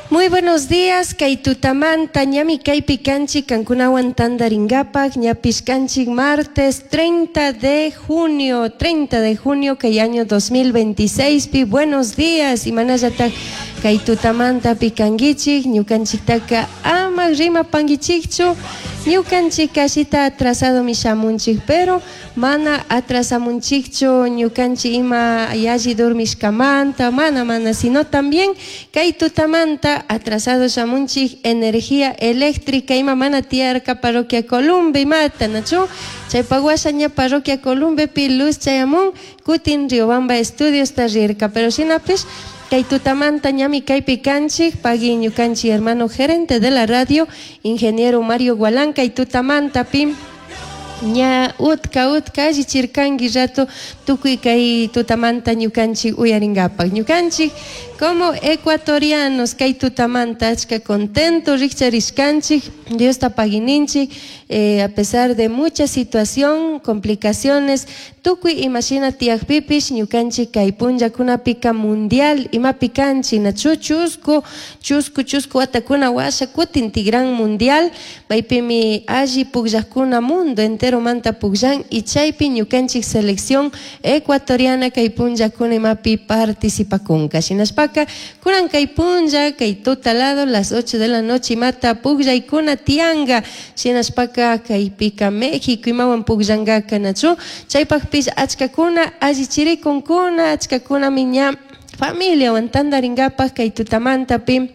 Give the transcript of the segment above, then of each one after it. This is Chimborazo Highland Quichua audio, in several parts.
Muy buenos días, kay tutamanta ñami kaypi kanchik kankunawan tantarinkapak ñapish kanchik martes 30 de junio, 30 de junio kay año 2026 pi. Buenos días, imanallatak kay tutamanta pi kankichik, ñukanchiktaka ama rimapankichikchu, ñukanchik kashita atrasadomi shamunchik, pero mana atrasamunchikchu ñukanchik ima yalli dormishkamanta, mana mana, sino también kay tutamanta atrasado shamunchik energía eléctrica ima mana tiyarka parroquia Columbe imata, nachu? Chaypak washa ña parroquia Columbepi luz chayamun, kutin Riobamba Estudios ta rirka, pero shinapish kay tutamanta ñami kaypi kanchik, pagui ñukanchik hermano gerente de la radio, ingeniero Mario Gualán, kay tutamanta pi ña utka utka allichirkanki rato tukuy kay tutamanta ñukanchik uyarinkapak. Ñukanchik como ecuatorianos kay tutamanta achka contento rikcharishkanchik, Diosta paguininchik, a pesar de mucha situación, complicaciones, tukuy imashina tiyakpipish ñukanchik kay punllakunapika mundial imapi kanchik, nachu chusku, chusku, chusku watakuna washa kutin tigran mundial, maypimi alli pukllakuna mundo entero manta pukllan y chaypi ñukanchik selección ecuatoriana kay punllakuna imapi participakunka. Shinashpaka kunan kay punlla, kay tutalado las 8 de la noche imata pukllaykuna tiyanka, shinashpaka kaypika México imawan pukllankaka, nachu? Chaypakpish achkakuna allichirikunkuna, achkakunami ña familiawan tantarinkapak kay tutamantapi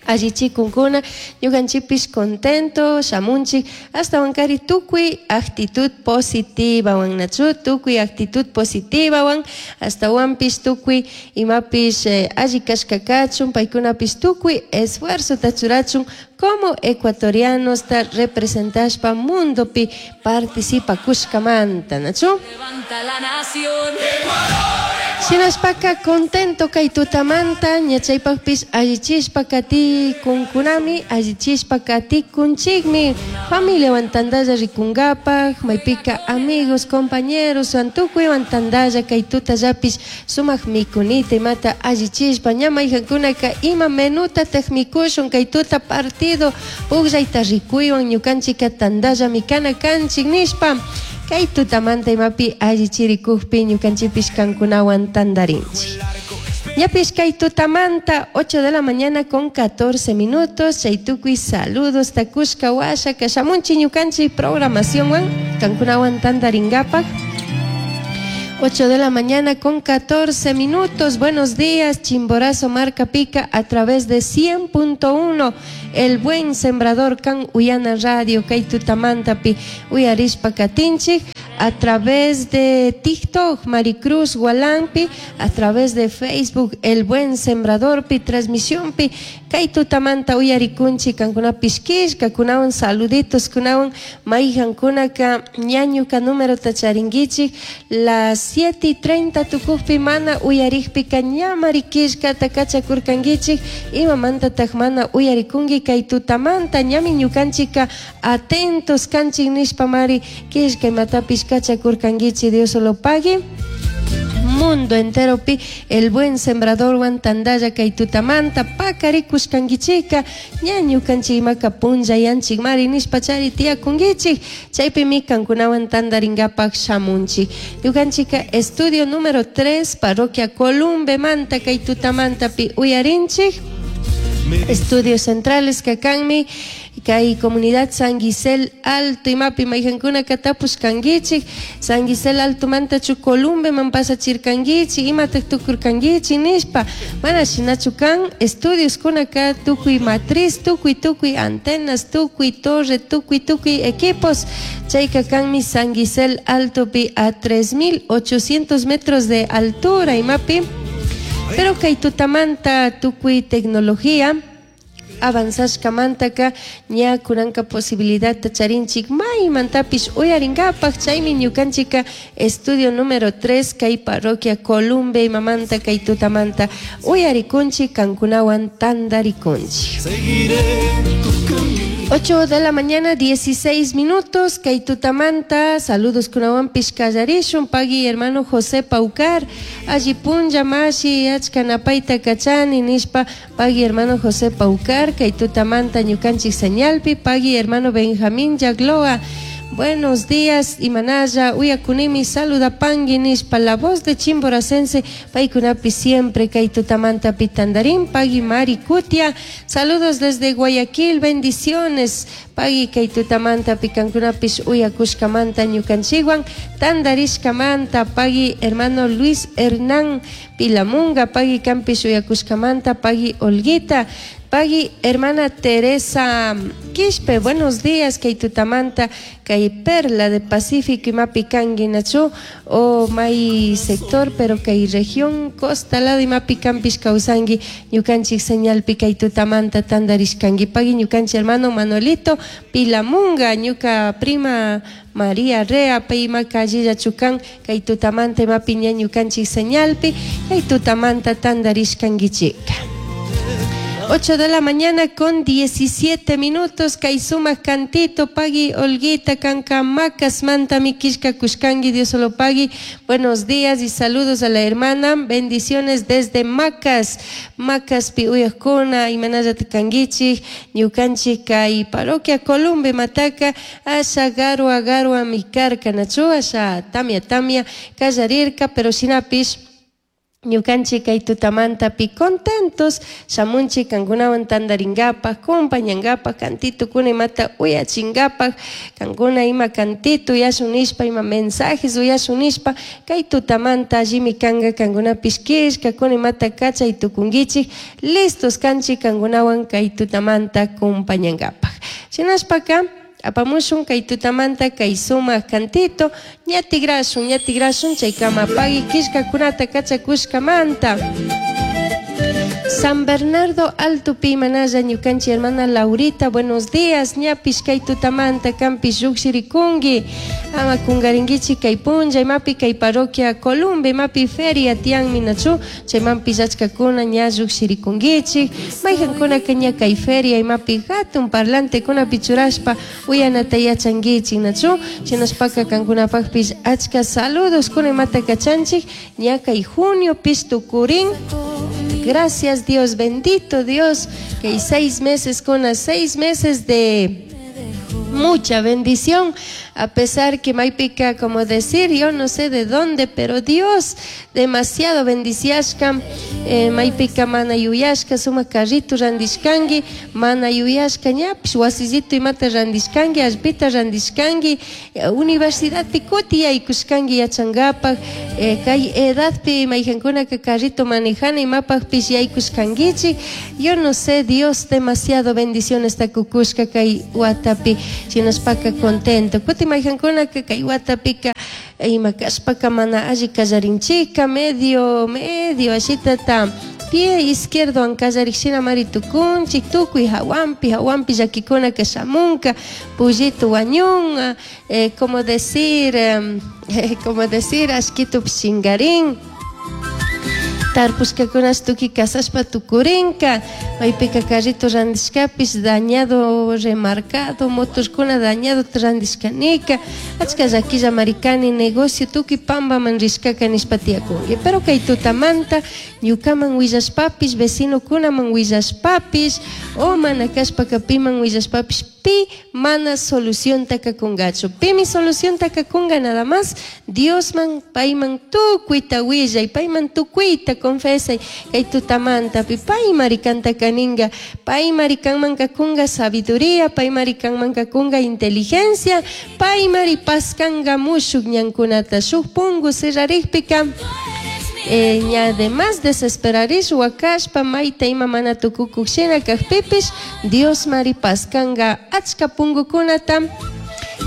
allichikunkuna, ñukanchikpish contento shamunchik, ashtawankari tukuy actitud positivawan, nachu? Tukuy actitud positivawan, ashtawanpish tukuy imapish alli kashka kachun, paykunapish tukuy esfuerzota churachun como ecuatorianos ta representashpa mundopi participakushkamanta, nachu? Levanta la nación. Shinashpaka contento kay tutamanta ña chaypakpish allichishpa katikunkunami, allichishpa katikunchikmi, familiawan tantalla rikunkapak, maypika amigos, compañeros, wan tukuywan tantalla kay tutallapish sumak mikunita imata allichishpa ña mayjankunaka ima menutatak mikushun kay tuta partido pukllayta rikuywan ñukanchika tantalla mikana kanchik nishpa kay tutamanta imapi allichirikukpi ñukanchikpish kankunawan tantarinchik. Ñapish kay tutamanta 8 de la mañana con 14 minutos, chay tukuy saludos takushka washa kashamunchik ñukanchik programacionwan kankunawan tantarinkapak. 8 de la mañana con 14 minutos. Buenos días, Chimborazo Marca Pica a través de 100.1. El Buen Sembrador Can Uyana Radio, kay tutamantapi uyarishpa katinchik, a través de TikTok, Maricruz Gualampi, a través de Facebook, El Buen Sembrador pi, transmisión pi, kay tutamanta uyarikunchik, kankunapish kishka, kunawan saluditos, kunawan mayjankunaka ñañuka número charinkichik, las 7:30 tukukpi mana uyarikpika ña marikishkata kachakurkankichik, imamantatak mana uyarikunki kay tutamanta, ñami ñukanchika atentos kanchik nishpa mari kishka imatapish kachakurkankichik, Dios lo pague. Mundo entero pi El Buen Sembrador wan tantalla kay tutamanta pakarikushkankichika ña ñukanchik imaka punllayanchik mari nishpa chari tiyakunkichik, chaypimi kankunawan tantarinkapak shamunchik. Ñukanchika estudio número 3, parroquia Columbe manta kay tutamanta pi uyarinchik. Estudios centrales kakanmi kay comunidad San Gisel Alto imapi mayjankunaka tapushkankichik, San Gisel Alto mantachu Columbe man pasachirkankichik, imatak tukurkankichik nishpa, mana shinachu kan estudios kunaka tukuy matriz, tukuy tukuy antenas, tukuy torre, tukuy tukuy equipos, chayka kanmi San Gisel Alto pi a 3800 metros de altura imapi, pero kay tutamanta tukuy tecnología avanzashkamantaka ña kunanka posibilidad charinchik maymantapish uyarinkapak, chaymi ñukanchika estudio número 3 kay parroquia Columbe imamanta kay tutamanta uyarikunchik, kankunawan tantarikunchik. Seguiré tu camino. 8 de la mañana, 16 minutos. Kay tutamanta, saludos kunawanpish kallarishun. Pagui hermano José Paucar, alli punlla mashi, achka napayta kachani nishpa, pagui hermano José Paucar, kay tutamanta ñukanchik señalpi, pagui hermano Benjamín Yagloa. Buenos días, Imanaya, Uyakunimi, saluda pangui nishpa, la voz de Chimboracense, paykunapi siempre, kay tutamanta pitandarín, pagui Mari Cutia, saludos desde Guayaquil, bendiciones, pagui kay tutamanta pikankunapis uyakushkamanta ñukanchikwan, tandarishkamanta, pagui hermano Luis Hernán Pilamunga, pagui kampis uyakushkamanta, pagui Olguita, pagui hermana Teresa Quispe, buenos días, kay tutamanta, kay Perla de Pacífico, imapi kanki nachu, o may sector, pero kay región costa lado imapi kampis kawsanki, ñukanchik señalpi kay tutamanta tandarishkanki, pagui ñukanchik hermano Manuelito Pilamunga, ñuka prima María Rea, pay imaka allilla chukan, kay tutamanta imapi ña ñukanchik señalpi, kay tutamanta tandarishkankichika. 8 de la mañana con 17 minutos, kay sumak cantito, pagui Olguita, kanka Macas, manta mikishka kushkangi, Dios solo pagui. Buenos días y saludos a la hermana, bendiciones desde Macas, Macas pi uyakuna, imanalla tikanguichik, ñukanchik kay parroquia Columbe Mataca, asha garua garua mikarka nachu, asha tamia tamia, kallarirka, pero shinapish ñukanchik kay tutamantapi contentos, shamunchik kankunawan tandarinkapak, compañankapak, kantitukuna imata uyachinkapak, kankuna ima kantito uyashun nishpa, ima mensajes uyashun nishpa, kay tutamanta allimi kanka kankunapish killkakuna imata kachay tukunkichik, listos kanchik kankunawan kay tutamanta compañankapak. Shinashpaka apamushun kay tutamanta kay sumak cantito, ñatigrashun, ñatigrashun, chaykama pagui killkakunata kachakushkamanta. San Bernardo Alto pi manalla ñukanchik hermana Laurita, buenos días, ñapish kay tutamanta kampish llukshirikunki, ama kunkarinkichik kay punlla imapi kay parroquia Columbe imapi feria tiyanmi nachu, chaymanpish achkakuna ña llukshirikunkichik, maykankunaka ña kay feria imapi hatun parlantekunapi churashpa uyanata yachankichik nachu, shinashpaka kankunapakpish achka saludos kuna imata kachanchik, ña kay junio pish tukurin. Gracias Dios, bendito Dios, que hay 6 meses con las 6 meses de mucha bendición, a pesar que maypika, como decir, yo no sé de dónde, pero Dios demasiado bendiciashka, maypika mana yuyashka, suma carrito randishkangi, mana yuyashka ñapish wasillito imata randishkangi, allpita randishkangi, universidadpi kuti yaykushkangi yachankapak, kay edadpi maykankunaka carrito manejana imapakpish yaykushkankichik. Yo no sé, Dios demasiado bendiciones takukushka kay watapi, shinashpaka contento. Kuti maykankunaka kay watapika ima kashpaka mana alli kallarinchika, medio, medio ashitata pie izquierdo ankallarikshina mari tukunchik, tukuy hawanpi, hawanpi llakikunaka shamunka, pullito wañunka, como decir, como decir, ashkitup chingarin. Tarpushkakunash tukuy kasashpa tukurinka, maypika carrito randishkapish dañado, remarcado, motorkuna dañado randishkanika, achka llakilla marikani negocio tukuy pambaman rishkaka nishpa tiyakunki. Pero kay tutamanta ñukaman willashpapish, vecinokunaman willashpapish, o mana kashpaka piman willashpapish, pi mana solucionta kakungachu. Pimi solucionta kakunga nada más, Diosman payman tukuyta willay, payman tukuyta confesay, kay tutamanta pi pay marikanta kaninga, pay marikanman kakunga sabiduría, pay marikanman kakunga inteligencia, pay maripaskanka mushuk ñankunata, shuk pungu cerrarikpika. Ña además desesperarish wakashpa mayta ima mana tukukuk shina kakpipish, Dios maripaskanga achka pungukunata.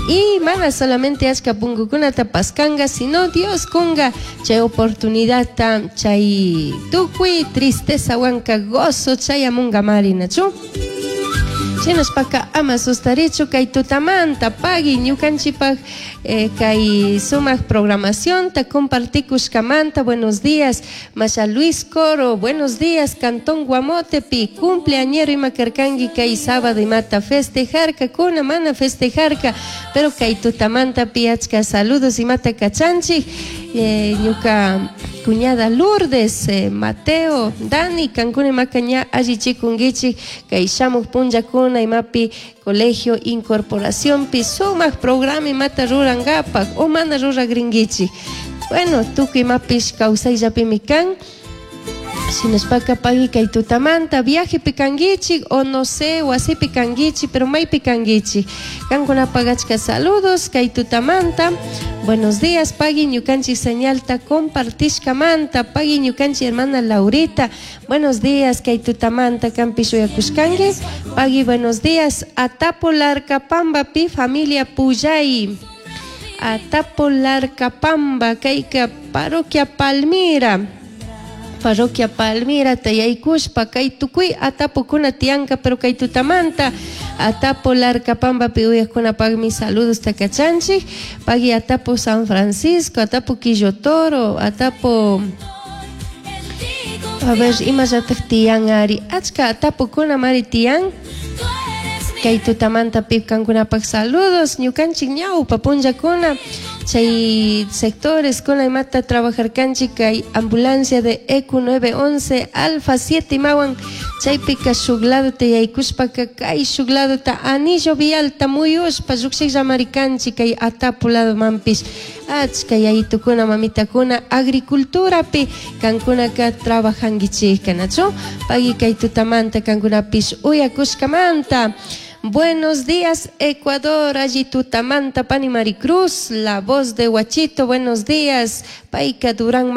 Y mana solamente achka pungukunata paskanga, sino Dios kunga chay oportunidad ta chay tukuy tristeza wanka gozo chayamunga mari nachu. Shinashpaka ama sustarichu kay tutamanta pagui ñukanchikpak kay sumak programacionta compartikushkamanta. Buenos días, Masha Luis Coro, buenos días, Cantón Guamotepi, cumpleañero ima karkanki kay sábado imata festejarkakuna, mana festejarka, pero kay tutamanta achka saludos imata kachanchik. Ñuka cuñada Lourdes, Mateo, Dani, kankuna imaka ña allichikunkichik kay shamuk punllakuna imapi colegio incorporacionpi sumak programa imata rurankapak o mana ruragrinkichik. Bueno, tukuy imapish kawsayllapimi kan. Shinashpaka pagui kay tutamanta viajepi kankichik o no sé, wasipi kankichik, pero maypi kankichik. Kankunapak achka saludos kay tutamanta. Buenos días, pagui ñukanchik señalta compartishkamanta, pagui ñukanchik hermana Laurita. Buenos días, kay tutamanta kanpish uyakushkanki. Pagui, buenos días. Atapo Larcapambapi familia Puyay. Atapo Larcapamba, kayka parroquia Palmira. Parroquia Palmira tayaykushpa kay tukuy atapukuna tiyanka, pero kay tutamanta Atapo Larcapambapi uyaqkunapaqmi saludos takachanchik. Pagui Atapo San Francisco, Atapo Quillotoro, Atapo, a ver, imallataq tiyan ari, achka atapukuna mari tiyan. Kay tutamanta kankunapaq saludos, ñukanchik ñawpa punllakuna chay sectores kuna imata trabajarkanchik kay ambulancia de ECU 911 Alfa 7 imawan chaypika shuk ladota yaykushpaka kay shuk ladota anillo vialta muyushpa llukshikllamarikanchik kay Atapo ladomanpish achka yayitukuna mamitakuna agriculturapi kankunaka trabajankichikka, nachu? Pagui kay tutamanta kankunapish uyakushkamanta. Buenos días, Ecuador, allí tutamanta, Pani Maricruz, la voz de Huachito, buenos días, Paica Durán.